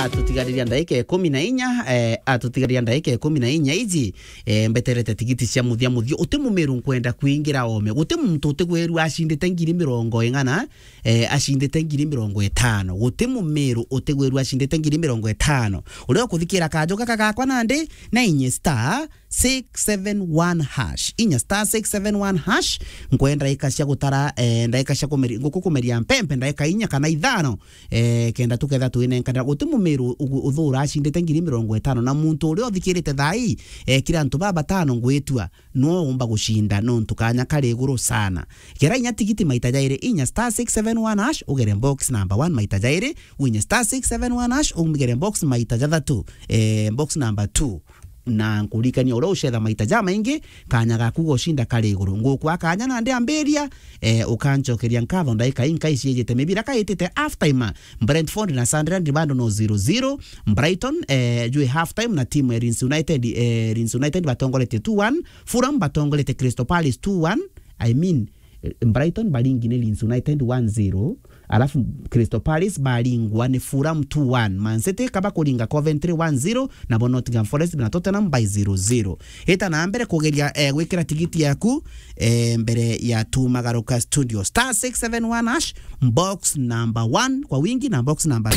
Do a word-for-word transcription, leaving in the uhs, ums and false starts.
Atutigariria ndaika ikumi na inya, eh, atutigariria ndaika ikumi na inya iji, eh, mbeterete tigiti cia muthia muthia. Uti mumiru nkwenda kwingira ome. Guti muntu utigwirua acindite ngiri mirongo ing'ana, eh, acindite ngiri mirongo itano. Guti mumiru utigwirua acindite ngiri mirongo itano. Uria ukuthikira kajo gaka gakwa nandi, na inye star six seven one hash. Inya star six seven one hash. Nkwenda ndaika cia gutara, eh, ndaika cia kumeri-, nguku kumeria mpempe, ndaika inya kana ithano, eh, kenda tuketha twinenkanira. Guti mumiru ugu-, uthura acindite ngiri mirongo itano, na muntu uria uthikirite thaa ii, eh, kira antu baba batano ngwitua, no umba gucinda, nontu kanya kari iguru sana. Gera inya tigiti maita jairi, inya star six seven one hash, ugere box number one maita jairi, winye star six seven one hash, ugere box maita jathatu, eh, box number two. Na nkurikania uria ucetha maita jamaingi, kanya gaku gocinda kari iguru. Ngukwa kanya nandi ambiria, eh, ukancokeria nkatho ndaika inkai ciejete mibira kaitite half time. Brentford na Sunderland bado no zero zero. Brighton, eh, jwe half time na timu ya Leeds United, eh, Leeds United batongoretie two one. Fulham batongoretie Crystal Palace two one. I mean, eh, Brighton baringi ni Leeds United one zero, alafu Crystal Palace baringwa ni Fulham two one. Man City kaba kuringa Coventry one zero, nabo Nottingham Forest na Tottenham by zero zero. Ita na mbere kugeria, eh, gwikira tigiti yaku, eh, mbere ya tumagaruka studio. Star six seven one hash, box number one kwa wingi na box number